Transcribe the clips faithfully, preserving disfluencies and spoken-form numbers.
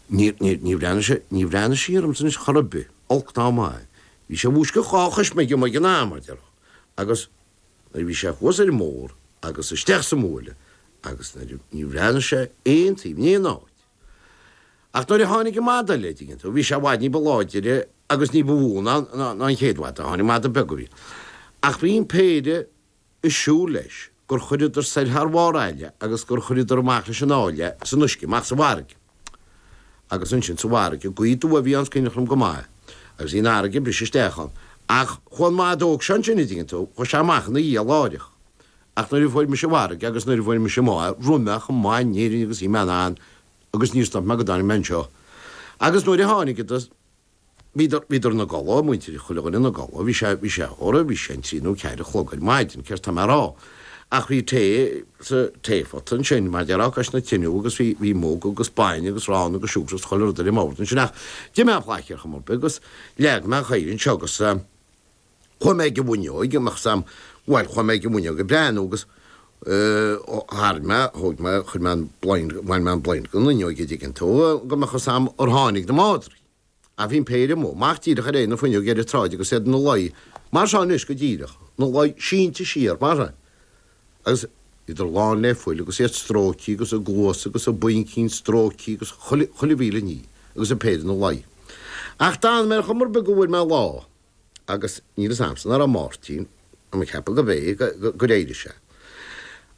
Níor, níor, níor bhreathnaigh sé, níor bhreathnaigh sé ormsa anois chor ar bith, olc ná maith. Bhí sé ag múscadh dhá chois ag an ag an am, mar déarfá. Agus nuair a bhí sé thuas ar an mbóthar agus isteach sa mbuaile agus nuair a, níor bhreathnaigh sé aon taobh in aon áit. Ach nuair a tháinig an mada eile, an dtuigeann tú, bhí sé i bhfad ní ba láidire agus ní ba mhó ná, ná, ná an chéad mhada. Tháinig mada beag a bhí. Ach bhí an péire ag siúl leis gur chuireadar soir thar bharr aille agus gur chuireadar amach leis an áille san uisce, amach sa bhfarraige. Agus ansin sa bhfarraige, gaoth aduaidh a bhí ann is cuimhneach liom go maith, agus bhí an fharraige ag briseadh isteach ann. Ach chuaigh an mada óg seo ansin, an dtuigeann tú, chuaigh sé amach ina dhiaidh láithreach. Ach nuair a fuair mise an bhfarraige agus nuair a fuair mise amach é, rith mé chomh maith in Éirinn agus bhí mé in ann agus níor stop mé go dtáinig mé anseo. Agus nuair a tháinigeadar, Bhíodar, bhíodar ina gcodladh, muintir chuile dhuine ina gcodladh, bhí sé, bhí sé, óra, bhí sé an trí nó ceathair a chlog ar maidin, céard tá mé a rá. Ach bhí tae sa taephota ansin, mar déarfá, cois na tineadh agus bhí, bhí mug agus bainne agus arán agus siúcra agus chuile rud ar an mbord ansin ach d'ith mé an plaice ar chuma ar bith agus leag mé an chaora anseo agus eh, chuaigh mé ag an bhfuinneoig, an mbeadh sam, bhuel, chuaigh mé ag an bhfuinneoig ag breathnú agus eh, tharraing mé, thóg mé, chuir mé an blind, bhain mé an blind den fhuinneoig, an dtuigeann tú, go mbeadh a fhios a'm ar tháinig na madraí. Ach bhí an péire amuigh, amach díreach ar aghaidh na fuinneoige ar an tsráid agus iad ina luí mar seo anois go díreach, ina luí sínte siar mar sin. Agus bhíodar lán le fuil agus iad stróicthe agus a gcluasa agus a bpuincín stróicthe agus chuile, chuile mhíle ní agus an péire ina luí. Ach d'fhan mé ar chuma ar bith go bhfuair mé lá agus níl fhios a'msa an raibh Máirtín, tá mé ag ceapadh gurb é, gur éirigh sé.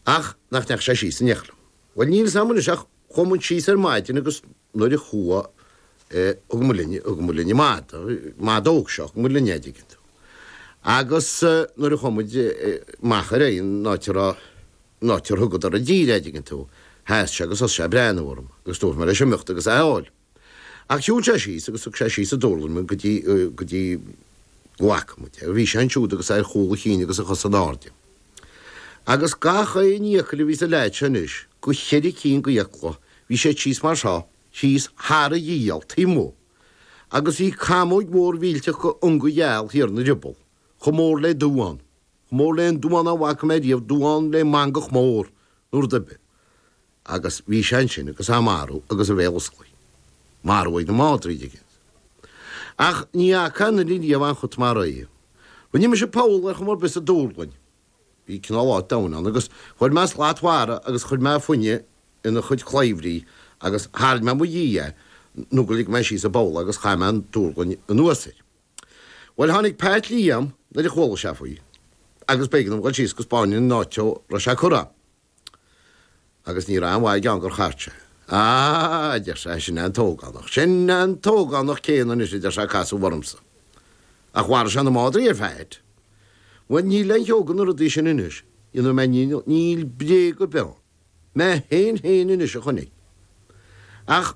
Ach nach ndeachaigh sé síos in éineacht liom. Bhuel níl fhios a'm anois ach chuaigh muid síos ar maidin agus nuair a chuaigh Thug muid linn, thug muid linn an mada, mada óg seo, thug muid linn é, an dtuigeann tú. Agus nuair a chuaigh muid amach ar aghaidh an áit a raibh, an áit ar thugadar i dtír é, an dtuigeann tú, sheas sé agus thosaigh sé ag breathnú orm agus dúirt mé leis imeacht agus é a fháil. Ach shiúil sé síos agus thug sé síos an dúrlainn muid go dtí, go dtí go bhfaca muid é. Bhí sé ansiúd agus é ar chúl a chinn agus a chosa in airde. Agus gach aon fhiacail a bhí sa leaid seo anois, go cheithre cinn d'fhiacla, bhí siad síos mar seo, thíos thar a ghiall, taobh amuigh, agus bhí camóig mhór mhillteach go ionga gheal thiar ina drioball, chomh mór le duán, chomh mór le aon duán a bhfaca mé riamh, duán le mangach mór, nó rud ar bith. Agus bhí sé ansin agus á marú agus a bhéal osclaithe. Marú ag na madraí, an dtuigeann tú. Ach ní fhaca aon duine riamh aon chut mar é. Rinne mise poll ar chuma ar bith sa dúrlainn. Bhí cineál áit domhain ann agus chuir mé slat mhara agus chuir mé fuinneadh ina chuid claímhrí agus tharraing mé mo dhiaidh é nó gur lig mé síos an poll agus chaith mé an dúrlainn anuas air. Bhuel, tháinig Pat Liam nuair a chuala sé faoi agus b'éigean dom dhul síos go 'spáin an áit a raibh sé curtha. Agus ní raibh aon mhaith aige ann gur chart sé. Á, a deir sé, sin é an t-ógánach, sin é an t-ógánach céanna anois, a deir sé, ag casadh ormsa. Ach mharaigh sé na madraí ar Phat. Bhuel, níl aon cheo de na rudaí sin anois, dhéanfaidh mé níl bréag ar bith ann. Mé féin féin anois a chonaic. Ach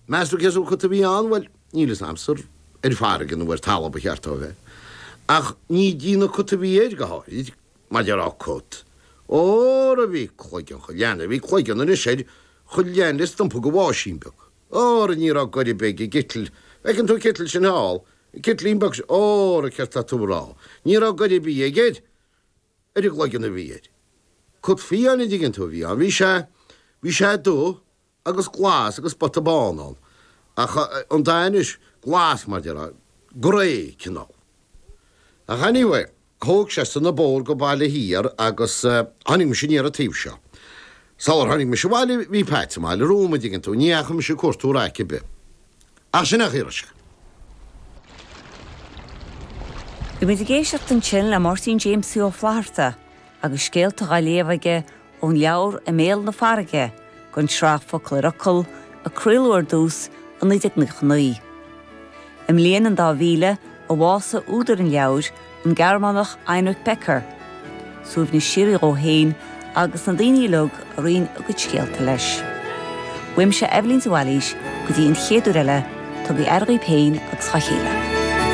meas tú cén sórt cut a bhí ann? Bhuel, níl fhios a'msa ar farraige nó ar talamh ba cheart dó a bheith. Ach ní dtí na cut a bhí air, go háirid, mar déarfá cut. Óra bhí cloigeann chuile leanbh, bhí cloigeann anois air chomh leathan le stumpa go bháisín beag. Óra ní raibh goir ar bith ag an gciteal. Feiceann tú an citeal sin thall, an citlín beag sin, óra céard tá tú a rá. Ní raibh goir ar bith aige air. Ar an gcloigeann a bhí air. Cut fiáin an dtuigeann tú a bhí ann. Bhí sé, bhí sé dubh agus glas agus spota bán ann. Ach an dath anois, glas mar déarfá, grey cineál. Ach anyway, thóg seisean an bóthar go Baile Thiar agus tháinig mise aniar an taobh seo. Sular tháinig mise abhaile bhí Pat sa mbaile romham an dtuigeann tú, ní dheachaigh mise ag cuartú raic ar bith. Ach sin é an chaoi a raibh sé. Bhí muid ag éisteacht ansin le Máirtín Jamesie Ó Flatharta agus scéalta dhá léamh aige ón leabhar I mBéal na Farraige den tsraith Focal ar Fhocal a craoladh ar dtús i naoi déag nócha naoi. I mbliain an dá mhíle a bhásaigh údar an leabhair, an Gearmánach Heinrich Becker. Suaimhneas síoraí dhó féin agus na daoine uilig a roinn a gcuid scéalta leis. Uaimse Eibhlín de Bhailís go dtí an chéad uair eile, tugaigí aire dhaoibh féin agus dhá chéile.